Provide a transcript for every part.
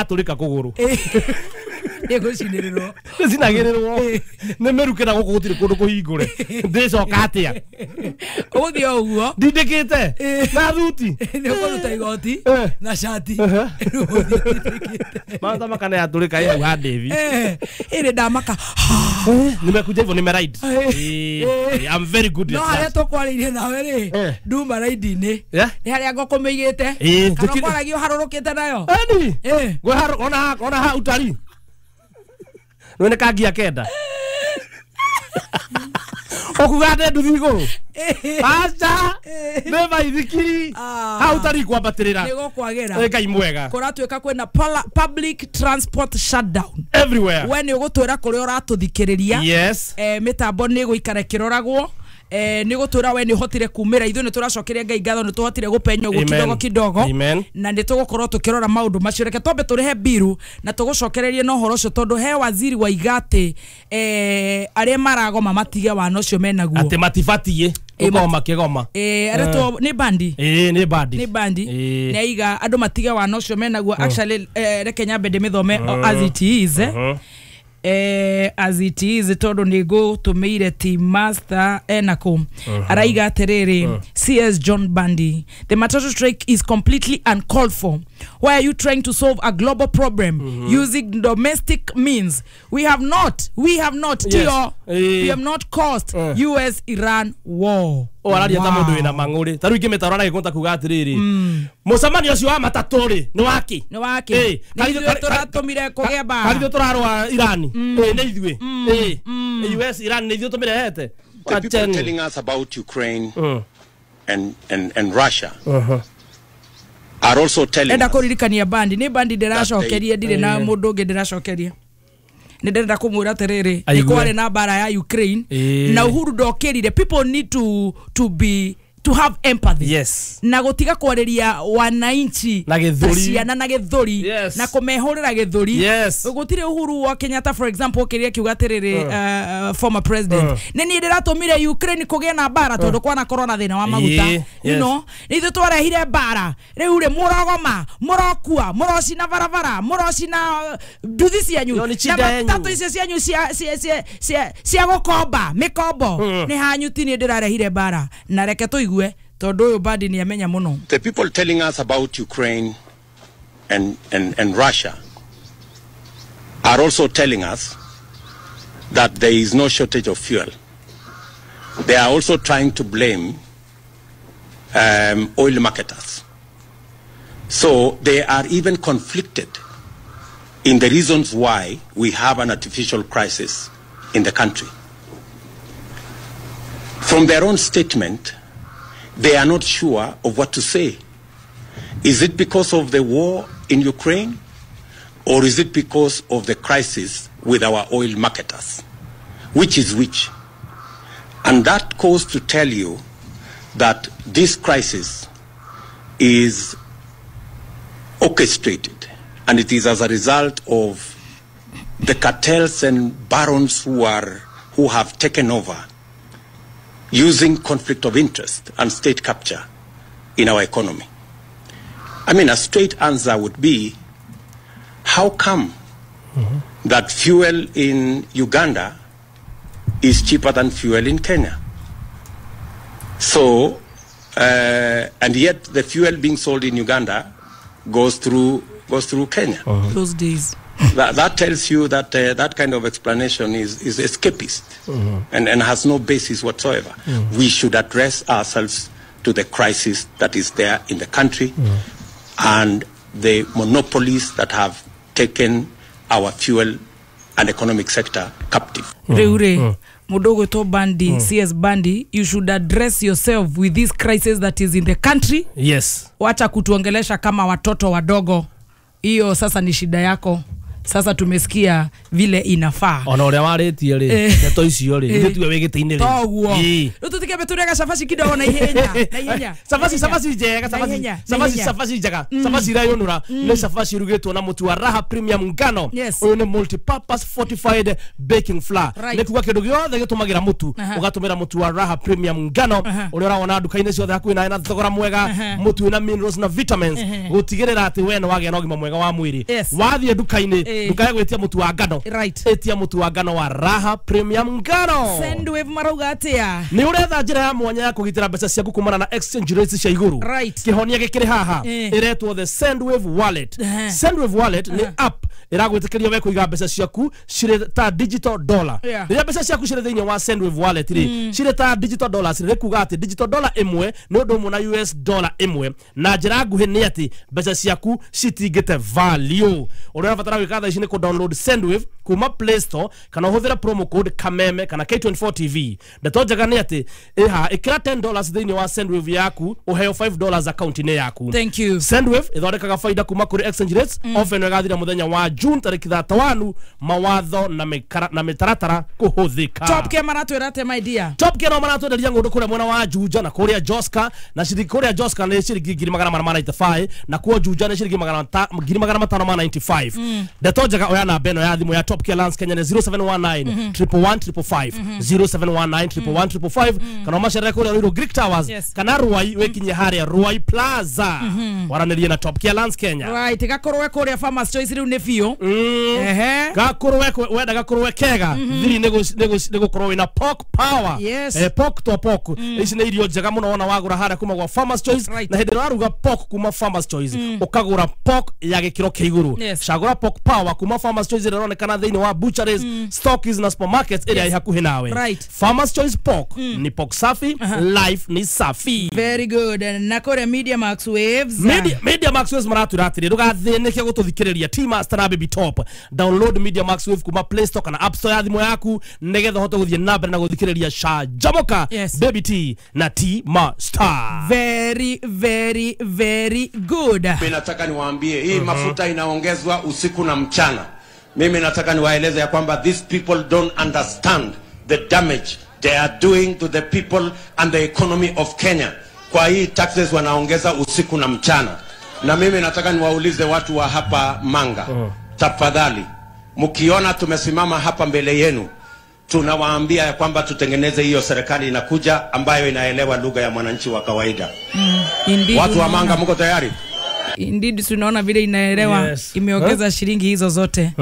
Yatũrĩka kũgũrũ. Nĩgũcinĩrĩrwo. Nĩcinagĩrĩrwo nĩ mĩruke na gũkũ gũtirĩ kũndũ kũhingũre. Ndĩcoka atĩa? Ũgũthiĩ o ũguo. Ndindĩkĩte na thuti. Nĩ ũkũruta igoti na cati. Rĩu ũthiĩ ũtindĩkĩte. Maũndũ makana yatũrĩka ĩ hau ha Ndĩvi. Ĩrĩ ndamaka. Nimekuja hivyo nimeride. I'm very good No at harĩa that. tũkwarĩirie nawe rĩ, nduma raidi-inĩ. Nĩ harĩa ngũkũ mĩigĩte. Kana kwaragia ũharũrũkĩte nayo. Eni. Ngwĩharũ ona ha utari. Nĩ kangia kenda. Okuga ndĩ nduthi igũrũ. Aca. Nĩ baithikiri. Hau utari kwambatĩrĩra. Nĩ gũkwagĩra. Ngai mwega. Kũratuĩka kwĩna public transport shutdown. Everywhere. We nĩ ũgũtwĩra kũrĩa ũratũthikĩrĩria. Yes. Mĩtambo nĩ ĩgũikara ĩkĩroragwo. Nĩ gũtwĩra we nĩ ũhotire kumĩra. Ithuĩ nĩ tũracokeria Ngai ngatho nĩ tũhotire gũpenya ũguo kidogo kidogo. Amen. Na nĩ tũgũkorwo tũkĩrora maũndũ macio. Reke twambe tũrĩhe mbiru na tũgũcokererie na ũhoro ũcio tondũ he waziri wa igatĩ arĩa maragoma matige wana ũcio menaguo. Atĩ matibatiĩ gũkorwo makĩgoma. Aretwo nĩ bandi. Nĩ bandi. Nĩ bandi. Nĩ aiga andũ matige wana ũcio menaguo. Actually reke nyambe ndĩmĩthome as it is. As it is tondu nĩ ngũtũmĩire team master enako. Araiga atĩrĩrĩ, CS John Bandi, the matatu strike is completely uncalled for. Why are you trying to solve a global problem using domestic means? We have not Yes. Tio, we have not caused US Iran war. O araria ta mundu wina mang'uri ta riu ingĩmĩtara aragĩkũnta kuga atĩrĩrĩ, mũcemanio ũcio wa matatũ rĩ nĩ waki? Nĩ waki? Nĩ ithuĩ tũratũmire kũgĩa mbara. Karithũ tũrarũa Iran. Nĩ ithuĩ. US Iran nĩ ithuĩ tũmĩrehete. The people telling us about Ukraine and Russia are also telling Enda us kũririkania bandi nĩ bandi ndĩracokeria, ndirĩ na mũndũ ũngĩ ndĩracokeria. Nĩ ndĩrenda kũmwĩra atĩrĩrĩ, nĩ kwarĩ na mbara ya Ukraine na Uhuru ndokĩrire. People need to have empathy. Yes. Na gũtiga kwarĩria wananchi na gĩthũri, ciana na gĩthũri. Yes. Na kũmehũrĩra gĩthũri. Yes. Gũtirĩ Uhuru wa Kenyatta for example okĩrire akiuga atĩrĩrĩ, former president, nĩ niĩ ndĩratũmire Ukraine kũgĩe na mbara tondũ kwanakorwo na thĩna wa maguta. You know, nĩ ithuĩ twarehire mbara. Rĩu rĩ mũrogoma, mũrokua, mũrocina barabara, mũrocina nduthi cianyu na matatũ icio cianyu cia gũkomba mĩkombo nĩ hanyu, ti niĩ ndĩrarehire mbara. Na reke tũigue tondu uyu Bandi ni amenya muno. The people telling us about Ukraine and Russia are also telling us that there is no shortage of fuel. They are also trying to blame oil marketers. So they are even conflicted in the reasons why we have an artificial crisis in the country. From their own statement, they are not sure of what to say. Is it because of the war in Ukraine, or is it because of the crisis with our oil marketers? Which is which? And that goes to tell you that this crisis is orchestrated, and it is as a result of the cartels and barons who have taken over, using conflict of interest and state capture in our economy. I mean, a straight answer would be, how come that fuel in Uganda is cheaper than fuel in Kenya? So, and yet the fuel being sold in Uganda goes through Kenya. Those days. That tells you that that kind of explanation is escapist and has no basis whatsoever. We should address ourselves to the crisis that is there in the country and the monopolies that have taken our fuel and economic sector captive. Reure, Mudogo to Bandi, CS Bandi, you should address yourself with this crisis that is in the country. Yes. Wacha kutuongelesha kama watoto wadogo. Hiyo sasa ni shida yako. Sasa tumesikia vile inafaa. Ona uria waritie ri ndeto icio ri ithuĩ tuwe wĩ gĩtĩ-inĩ ri. Toguo rĩu tũtikĩambe tũrĩe gacabaci kidogo na ihenya na ihenya. Cabaci cabaci njega cabaci cabaci cabaci njega cabaci irayũnũra nĩ cabaci irugĩtwo na mũtu wa Raha Premium ngano. Ũyũ nĩ multi-purpose fortified baking flour. Nĩ kuga kĩndũ gĩothe gĩtũmagĩra mũtu ũgatũmĩra mũtu wa Raha Premium ngano ũrĩa ũrawona nduka-inĩ ciothe hakuhĩ nawe na thogora mwega, mũtu wĩna minerals na vitamins gũtigĩrĩra atĩ we nĩ wagĩa na ũgima mwega wa mwĩrĩ. Wathiĩ nduka-inĩ ndukae gwĩtia mũtu wa ngano, ĩtia mũtu wa ngano wa Raha Premium ngano. Sendwave marauga atĩa? Nĩ ũretha njĩra ya mwanya ya kũgitĩra mbeca ciaku kumana na exchange rates cia igũrũ. Kĩhonia gĩkĩrĩ haha ĩretwo the Sendwave Wallet. Sendwave Wallet nĩ app ĩragwĩtĩkĩria we kũiga mbeca ciaku cirĩ ta digital dollar. Rĩrĩa mbeca ciaku cirĩ thĩinĩ wa Sendwave Wallet rĩ, cirĩ ta digital dollars, rĩ kuga atĩ digital dollar ĩmwe nĩ ũndũ ũmwe na US dollar ĩmwe, na njĩra nguhĩ nĩ atĩ mbeca ciaku citingĩte value. Ũrĩa ũrabatara gwĩka thaa ici nĩ kũ download Sendwave kuma Play Store kana ũhũthĩre promo code Kameme kana K24 TV. Ndeto njega nĩ atĩ ĩha ĩkĩra $10 thĩinĩ wa Sendwave yaku ũheo $5 account-inĩ yaku. Thank you. Sendwave ĩthondekaga faida kuma kũrĩ exchange rates. Offer ĩno ĩgathira mũthenya wa June tarĩki 31, mawatho na mĩtaratara kũhũthĩka. Top Care maratwĩra atĩa my dear? Top Care no maratwenderia ng'ũndũ kũrĩa mwena wa Juja na kũrĩa Joska, na ciringi kũrĩa Joska nĩ ciringi 495 na kuo Juja nĩ ciringi 595. Ndeto njega oya namba ĩno ya thimũ ya Top Care Lands Kenya nĩ 0719 111 555 0719 111 555 kana ũmacerere kũrĩa Ruiru Greek Towers kana Ruai wĩkinye harĩa Ruai Plaza waranĩrie na Top Care Lands Kenya. Right, gakorwe kũrĩa Farmers Choice rĩu nĩ biũ. Gakorwe wenda gakorwe kega thiri nĩ gũkorwo wĩna pork power. Pork to pork ici nĩ irio njega mũno wona wagũra harĩa kuma gwa Farmers Choice, na hĩndĩ ĩrĩa waruga pork kuma Farmers Choice ũkagũra pork ya gĩkĩro kĩa igũrũ. Cagũra pork power kuma Farmers Choice ĩrĩa ĩronekana thĩinĩ wa butcheries, stockies na supermarkets ĩrĩa ĩ hakuhĩ nawe. Farmers Choice pork ni pork safi, life ni safi. Very good. Na kũrĩa Media Max Waves. Media Max Waves maratwĩra atĩrĩ ndũgathĩnĩke gũtũthikĩrĩria T Master na Baby Top. Download Media Max Wave kuma Play Store kana App Store ya thimũ yaku nĩgetha ũhote gũthiĩ na mbere na gũthikĩrĩria Canjamũka, Baby T na T Master. Very very very good. Mimi nataka niwaambie hii mafuta inaongezwa usiku na mchana. Mimi nataka niwaeleze ya kwamba these people don't understand the damage they are doing to the people and the economy of Kenya. Kwa hii taxes wanaongeza usiku na mchana. Na mimi nataka niwaulize watu wa hapa Manga, tafadhali mkiona tumesimama hapa mbele yenu, tunawaambia ya kwamba tutengeneze hiyo serikali inakuja ambayo inaelewa lugha ya mwananchi wa kawaida. Indeed, watu wa Manga mko tayari? Indeed, tunaona vile inaelewa. Imeongeza shilingi hizo zote.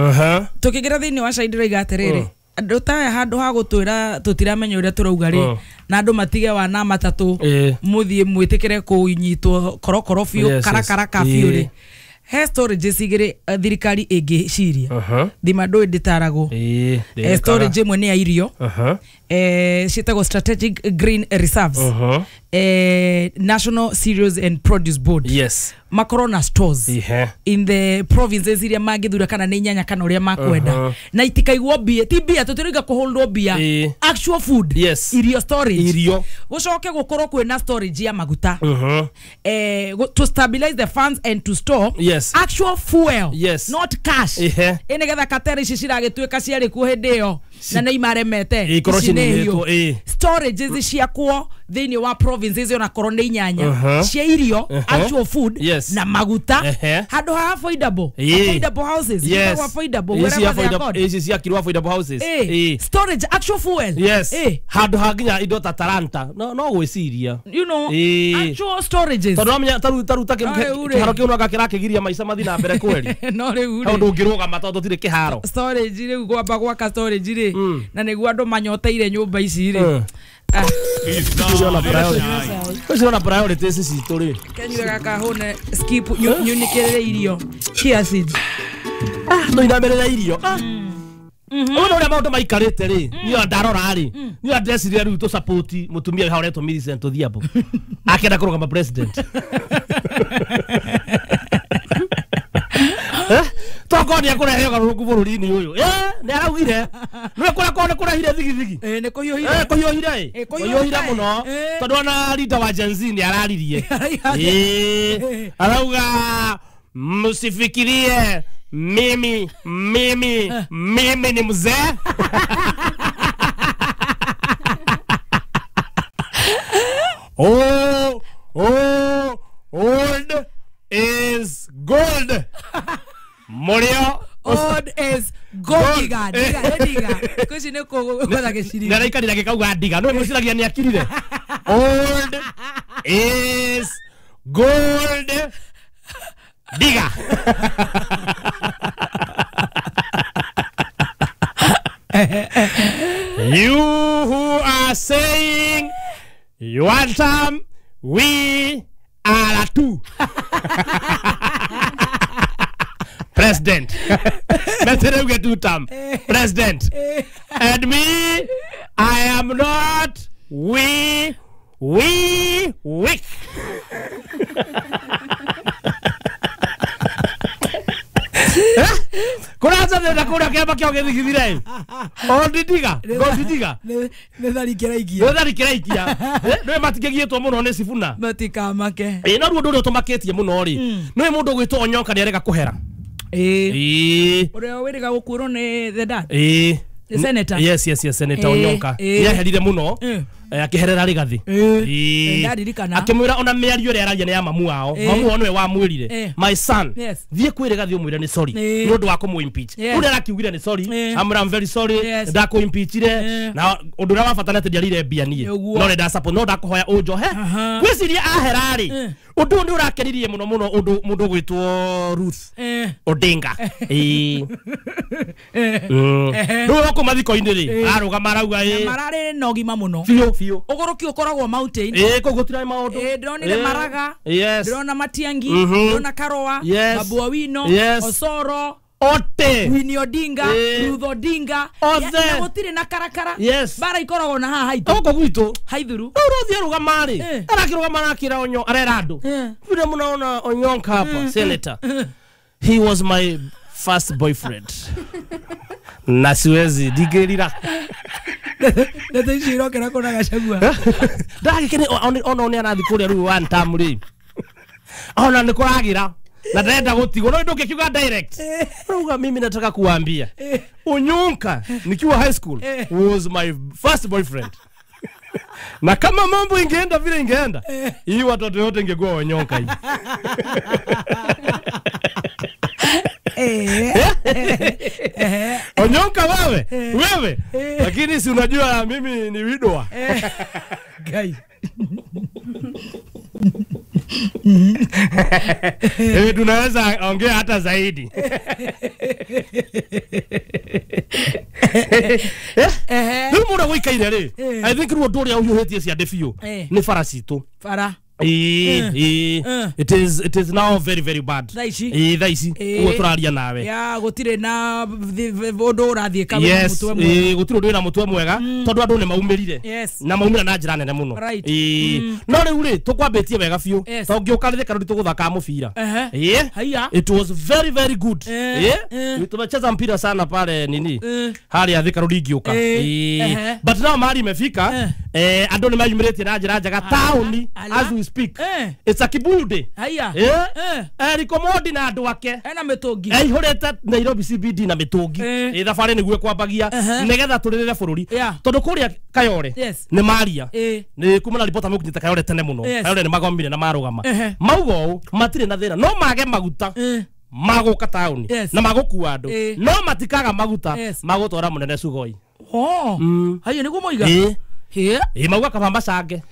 Tukigira thĩinĩ wa Shahidi raiga atĩrĩrĩ, andũ ta handũ ha gũtwĩra tũtiramenya ũrĩa tũrauga rĩ, na andũ matige wana matatũ mũthiĩ mwĩtĩkĩre kũnyitwo korokoro biũ karakaraka biũ rĩ, he storages igĩrĩ thirikari ĩngĩciria. Thima ndũĩ ndĩtaragwo. Storage ĩmwe nĩ ya irio, ciĩtagwo Strategic Green Reserves, National Cereals and Produce Board. Makorwo na stores in the provinces iria mangĩthura kana nĩ inyanya kana ũrĩa makwenda, na itikaigwo mbia, ti mbia tũtirauga kũholdwo mbia, actual food. Irio storage, irio gũcoke gũkorwo kwĩna storage ya maguta, to stabilize the funds and to store actual fuel, not cash. Nĩgetha katera ici ciragĩtuĩka ciarĩ kuo hĩndĩ ĩyo na nĩ imaremete, ici nĩ hiũ. Storages ciakwo thĩinĩ wa provinces ona korwo nĩ inyanya cia irio, actual food na maguta, handũ ha affordable houses, affordable wherever they are called. Ici ciakirwo affordable houses, storage actual fuel, handũ ha nginya indo ta Talanta no gwĩciria, you know, actual storages. Tondũ wamenya taru ta kĩharo kĩu no gakĩrakĩgiria maica mathiĩ na mbere kweri. No rĩu rĩ ndũngĩrũgama tondũ gũtirĩ kĩharo. Storage rĩu gwamba gwaka storage rĩ, na nĩguo andũ manyoteire nyũmba ici rĩ. Ũcio priorities citũ rĩ, kenyue gaka hũne skip nyunĩkĩrĩre irio chia seeds. No inamerera irio. Ũyũ ũrĩa maũndũ maikarĩte rĩ, niĩ ndarora rĩ, niĩ ndeciria rĩu tũ support mũtumia ũrĩa ũretwo Millicent Odhiambo akĩenda kũrũgama president. Tokorwo nĩ ekũrehe ũgarũrũku bũrũri-inĩ ũyũ. Nĩ araugire nĩwe kũrĩa korwo nĩ kũrehire thigithigi. Nĩ kũhiũhire. Kũhiũhire kũhiũhire mũno tondũ ona leader wa Gen Z nĩ araririe. Arauga msifikirie Mimi mimi mimi ni mzee. Oh, oh, old is gold. Morio old is gold. Diga diga diga kuci nĩ kũgũtha gĩciri nĩ araikarire gĩkauga ndiga no mwĩciragia nĩ akirire. Old is gold diga. You who are saying you want some, we are two. President. Better get two term. President. And me, I am not we weak. Kuraza na kura kiama kio githithire. Old diga, gold diga. Nĩ tharikĩra ikia. Nĩ tharikĩra ikia. Nĩ matikĩgiĩtwo mũno nĩ Sifuna. Matikamake. Ĩ no ruo ndũrĩa ũtũmakĩtie mũno rĩ. Nĩ mũndũ ũgwĩtwo Onyonka nĩ arega kũhera. Ĩ. Ũrĩa wĩrĩga gũkuĩrwo nĩ the dad. Ĩ. The senator. Yes, yes, yes, Senator Onyonka. Nĩ aherire mũno. Akĩherera Rigathi. Ndaririkana. Akĩmwĩra ona mĩario ĩrĩa araria nĩ ya mamu wao. Mamu wao nĩwe wamwĩrire. My son, thiĩ kwĩ Rigathi ũmwĩre nĩ sorry. Nĩ ũndũ wa kũmũ impeach. Rĩu arakiugire nĩ sorry. Amwĩra I'm very sorry. Ndakũ impeachire. Na ũndũ ũrĩa wa bata nĩ atĩ ndiarire mbia niĩ. No nĩ ndasupport, no ndakũhoya ũnjohe. Ngwĩciria ahera rĩ. Ũndũ ũyũ nĩ ũrakenirie mũno mũno ũndũ mũndũ ũgwĩtwo Ruth Odinga. Rĩu gũkũ mathiko-inĩ rĩ, arũgama arauga ĩ. Mararĩ na ũgima mũno. Biũ biũ. Ũgũrũki ũkoragwo mountain. Ĩ kũu gũtirarĩ maũndũ. Ĩ ndĩronire Maraga. Ndĩrona Matiangi, ndĩrona Karoa, Babu Owino, Osoro, Ote, Winnie Odinga, Ruth Odinga. Othe. Na gũtirĩ na karakara. Bara ikoragwo na haha haitũ. Gũkũ gwitũ. Haithuru. Rĩu ũrathiĩ arũgama rĩ. Arakĩrũgama arakĩra Onyo, arera andũ. Vile mnaona Onyonka hapa, senator. He was my first boyfriend. Na siwezi ndigĩrira. Ndeto ici irokera kũna Gachagua. Ndagĩkene ona nĩ arathiĩ kũrĩa rĩu one term rĩ. Ona nĩ kũragĩra. Na ndenda gũtigwo no ndũngĩkiuga direct. Rauga mimi nataka kuambia. Onyonka nikiwa high school was my first boyfriend. Na kama mambo ingeenda vile ingeenda, hii watoto yote ingekuwa Onyonka hii. Onyonka wewe, wewe. Lakini si unajua mimi ni widowa. Guy. Tunaweza ongea hata zaidi. Rĩu mũndũ gũikaire rĩ, I think rĩu ũndũ ũrĩa ũhiũhĩtie ciande biũ nĩ bara citũ. Bara. It is now very very bad. Thaa ici. Thaa ici ũguo tũraria nawe. Ya gũtirĩ na ũndũ ũrathiĩka wĩna mũtwe mwega. Gũtirĩ ũndũ wĩna mũtwe mwega tondũ andũ nĩ maumĩrire. Na maumĩra na njĩra nene mũno. No rĩu rĩ tũkwambĩtie wega biũ. Tondũ ngĩũka rĩthĩ karũri tũgũthaka mũbira. It was very very good. Tumecheza mpira sana pale nini. Harĩa Thika Road ingĩũka. But now mahali imefika andũ nĩ mayumĩrĩtie na njĩra njega taũni as we speak. It's a Kibuyu day. Haya. Eric Omondi na andũ ake. Ena mĩtũngi. Aihũrĩte Nairobi CBD na mĩtũngi. Thabarĩ nĩguo ĩkwambagia nĩgetha tũrĩrĩre bũrũri. Tondũ kũrĩa Kayore nĩ maria. Nĩ kuma na ribota mekunyita Kayore tene mũno. Kayore nĩ magomire na marũgama. Mauga ũũ matirĩ na thĩna no mage maguta. Magũka taũni na magũkua andũ no matikaga maguta magũtwara mũnene Sugoi. Haya nĩguo moiga. Mauga kaba macange.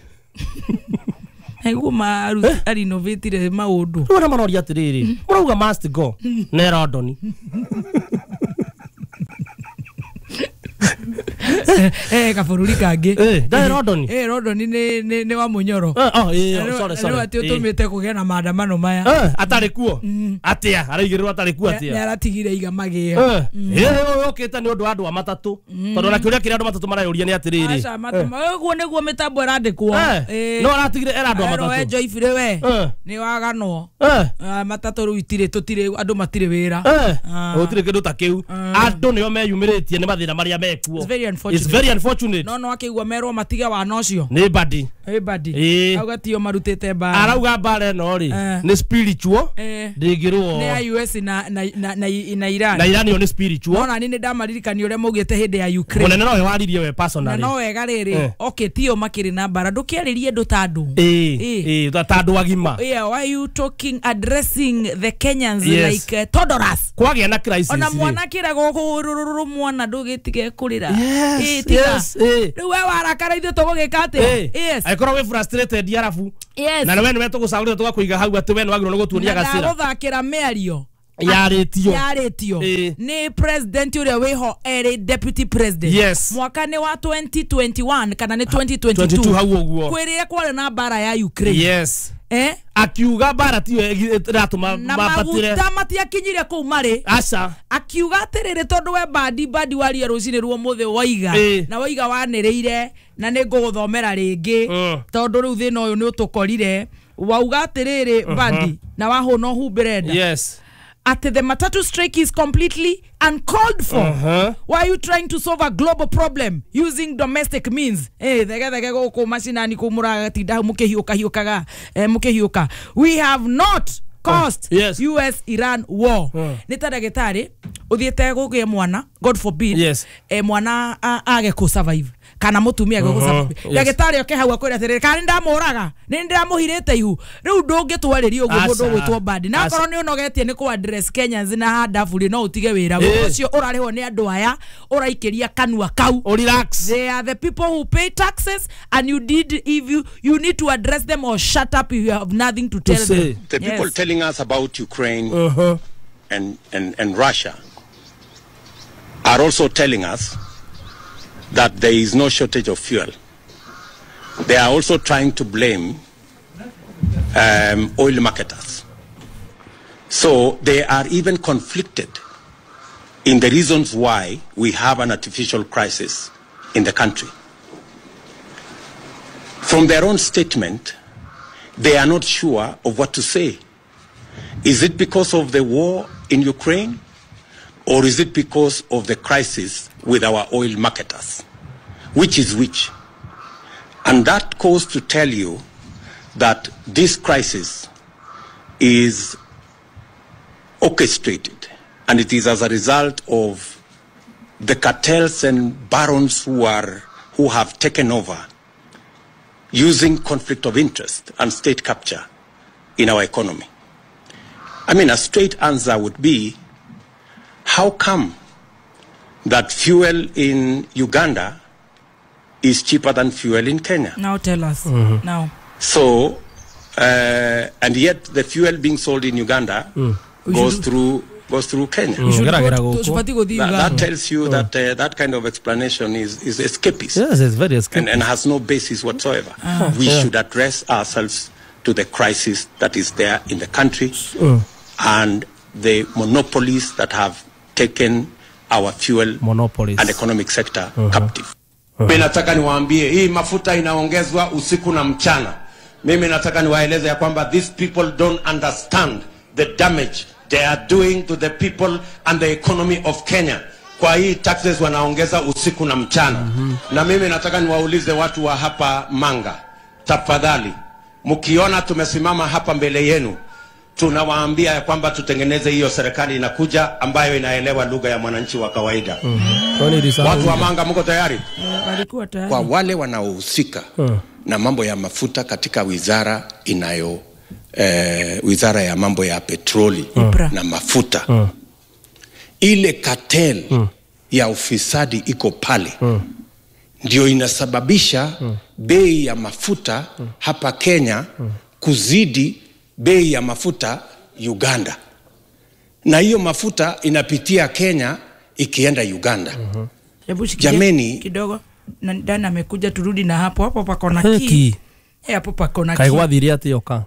Nĩguo arinovatire maũndũ. Rĩu arĩa maroria atĩrĩrĩ, mũrauga must go nĩ London. Kabũrũri kangĩ. Ndarĩ London. London nĩ wa Mũnyoro. Sorry sorry. Nĩ atĩ ũtũmĩte kũgĩa na maandamano maya. Atarĩ kuo. Atĩa araigĩrĩrwo atarĩ kuo atĩa. Nĩ aratigire iga magĩo. Ũkĩte nĩ ũndũ wa andũ a matatũ. Tondũ ona kĩũria kĩrĩa andũ matatũ marayũria nĩ atĩrĩrĩ. Aca ũguo nĩguo mĩtambo ĩrandĩkwo. No aratigire era andũ a matatũ. We Joyfrey we. Nĩ waganwo. Matatũ rĩu itirĩ tũtirĩ andũ matirĩ wĩra. Gũtirĩ kĩndũ ta kĩu. Andũ nĩo meyumĩrĩtie nĩ mathĩna marĩa mekuo. It's very unfortunate. It's very unfortunate. No akĩigua merwo matige wana ũcio. Nĩ badi. Hey buddy. Auga tio marutite mbara. Arauga mbara ĩno rĩ nĩ spiritual. Ndĩngĩrũo. Nĩ ya US na Iran. Na Iran yo nĩ spiritual. Ona nĩ ndamaririkania ũrĩa maugĩte hĩndĩ ya Ukraine. Mũnene nowe waririe we personally. Na no wega rĩrĩ. Okay tio makĩrĩ na mbara ndũkĩarĩrie andũ ta andũ. Ta andũ agima. Yeah, why you talking addressing the Kenyans like toddlers? Kwagĩa na crisis. Ona mwana kĩragwo kũrũrũrũ mwana ndũgĩtige kũrĩra. Yes. Rĩu we warakara ithuĩ tũgũgĩka atĩa? Yes. Angĩkorwo wĩ frustrated arabu. Yes. Na we nĩwe tũgũcagũrĩte tũgakũiga hau atĩ we nĩwagĩrĩirwo nĩ gũtuonia gacĩra. Na ndagũthakĩra mĩario yarĩtio nĩ president ũrĩa wĩho erĩ deputy president. Yes. Mwaka nĩ wa 2021 kana nĩ 2022 hau ũguo. Kwĩrĩra kwarĩ na mbara ya Ukraine. Yes. Akiuga mbara tiyo ĩratũma mabatire. Na maguta matiakinyire kũu marĩ. Aca. Akiuga atĩrĩrĩ tondũ we bandi waria rũcinĩ rwa ũmũthĩ waiga. Na waiga wanĩrĩire na nĩ ngũgũthomera rĩngĩ tondũ rĩu thĩna ũyũ nĩ ũtũkorire. Wauga atĩrĩrĩ bandi na wahũna ũhumbĩre nda. Yes. At the matatu strike is completely uncalled for. Why are you trying to solve a global problem using domestic means? Thege gũkũ macinani kũ mũratinda mũkĩhiũka hiũkaga mũkĩhiũka. We have not caused US Iran war. Nĩ ta ndagĩtarĩ ũthiĩte gũgĩe mwana, God forbid, mwana age kũ survive kana mũtumia age kũ survive. Ndagĩtarĩ oke hau akwĩre atĩrĩrĩ kana nĩndamũraga nĩ ndĩramũhirĩte ihu. Rĩu ndũngĩtwarĩria ũguo mũndũ ũgwĩtwo Mbadi. Na akorwo nĩ ũnogetie nĩ kũ address Kenyans na handabu rĩ no ũtige wĩra ũcio ũrarĩhwo nĩ andũ aya ũraikĩria kanua kau. Relax. They are the people who pay taxes and you did if you need to address them or shut up if you have nothing to tell them. The people telling us about Ukraine and Russia are also telling us that there is no shortage of fuel. They are also trying to blame oil marketers. So they are even conflicted in the reasons why we have an artificial crisis in the country. From their own statement, they are not sure of what to say. Is it because of the war in Ukraine? Or is it because of the crisis with our oil marketers? Which is which? And that goes to tell you that this crisis is orchestrated, and it is as a result of the cartels and barons who have taken over using conflict of interest and state capture in our economy. I mean, a straight answer would be, how come that fuel in Uganda is cheaper than fuel in Kenya? Now tell us. Now. So, and yet the fuel being sold in Uganda goes through Kenya. That tells you that that kind of explanation is escapist. Yes, it's very escapist. And has no basis whatsoever. We should address ourselves to the crisis that is there in the country and the monopolies that have taken our fuel and economic sector captive. Mimi nataka niwaambie hii mafuta inaongezwa usiku na mchana. Mimi nataka niwaeleze ya kwamba these people don't understand the damage they are doing to the people and the economy of Kenya. Kwa hii taxes wanaongeza usiku na mchana. Na mimi nataka niwaulize watu wa hapa Manga, tafadhali, mkiona tumesimama hapa mbele yenu, tunawaambia ya kwamba tutengeneze hiyo serikali inakuja ambayo inaelewa lugha ya mwananchi wa kawaida. Watu wa Manga mko tayari? Walikuwa tayari. Kwa wale wanaohusika na mambo ya mafuta katika wizara inayo wizara ya mambo ya petroli na mafuta. Ile cartel ya ufisadi iko pale. Ndio inasababisha bei ya mafuta hapa Kenya kuzidi bei ya mafuta Uganda. Na hiyo mafuta inapitia Kenya ikienda Uganda. Jameni kidogo ndani amekuja, turudi na hapo hapo pako na ki. Hapo pako na ki. Kaigwathirie ati yoka.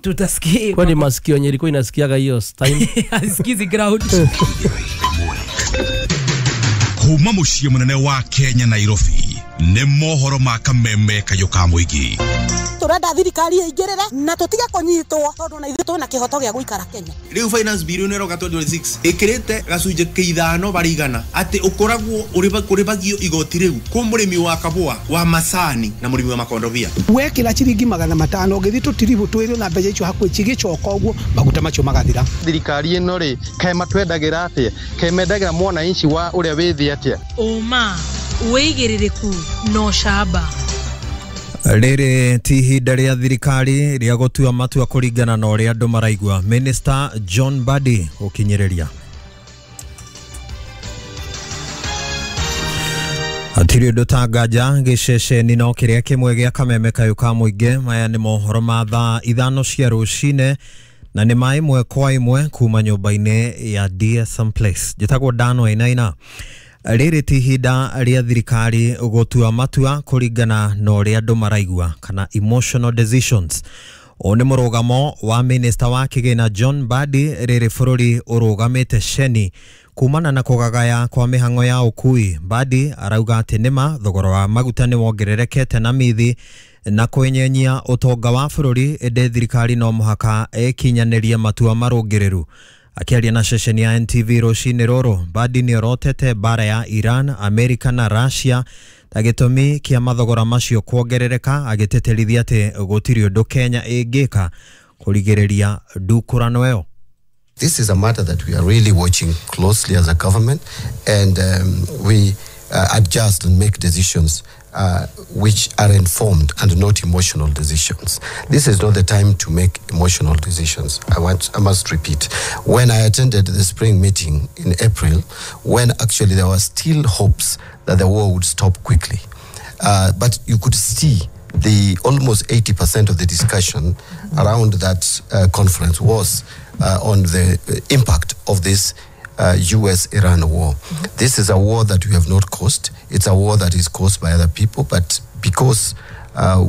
Tutasikia. Kwani masikio yenye ilikuwa inasikiaga hiyo time. Asikizi ground. Kuma muciĩ mũnene wa Kenya Nairobi. Nĩ mohoro ma kameme kayũ ka mũingĩ. Turenda thirikari ĩingĩrĩre na tũtige kũnyitwo tondũ na ithuĩ twĩna kĩhoto gĩa gũikara Kenya. Rĩu finance bill ĩno ĩroka 2026 ĩkĩrĩte gacunjĩ kĩa ithano barĩ igana atĩ ũkoragwo ũrĩbagio igoti rĩu kũ mũrĩmi wa kabũa wa macani na mũrĩmi wa makondobia. Wekĩra ciringi 500 ũgĩthiĩ tũtiribũ twĩrĩ na mbeca icio hakuhĩ cigĩcoka ũguo maguta macio magathira. Thirikari ĩno rĩ kaĩ matwendagĩra atĩa, kaĩ mendagĩra mwananchi wa ũrĩa wĩ thĩ atĩa? Ũma wĩigĩrĩrĩku no camba. Rĩrĩ ti ihinda rĩa thirikari rĩa gũtua matua kũringana na ũrĩa andũ maraigua. Minister John Mbadi gũkinyĩrĩria. Hatirĩ ũndũ ta nganja gĩceceni no kĩrĩa kĩmwe gĩa kameme kayũ ka mũingĩ. Maya nĩ mohoro ma thaa 5 cia rũcinĩ na nĩ ma ĩmwe kwa ĩmwe kuma nyũmba-inĩ ya DSM Place. Njĩtagwo Dan Wainaina. Rĩrĩ ti ihinda rĩa thirikari gũtua matua kũringana na ũrĩa andũ maraigua kana emotional decisions. Ũũ nĩ mũrũgamo wa minister wa kĩgĩna John Mbadi rĩrĩ bũrũri ũrũgamĩte ceni kumana na kũgagaya kwa mĩhang'o ya ũkui. Mbadi arauga atĩ nĩma thogora wa maguta nĩ wongererekete na mithi na kwenyenyia ũtonga wa bũrũri, ĩndĩ thirikari no mũhaka ĩkinyanĩrie matua marũngĩrĩru. Akiaria na ceceni ya NTV rũcinĩ rũrũ, Mbadi nĩorotete mbara ya Iran, Amerika na Russia ta gĩtũmi kĩa mathogora macio kuongerereka, agĩtĩtĩrithia atĩ gũtirĩ ũndũ Kenya ĩngĩka kũrigĩrĩria ndukũrano ĩyo. This is a matter that we are really watching closely as a government, and we adjust and make decisions which are informed and not emotional decisions. This is not the time to make emotional decisions. I must repeat. When I attended the spring meeting in April, when actually there were still hopes that the war would stop quickly, but you could see the almost 80% of the discussion around that conference was on the impact of this US-Iran war. This is a war that we have not caused. It's a war that is caused by other people, but because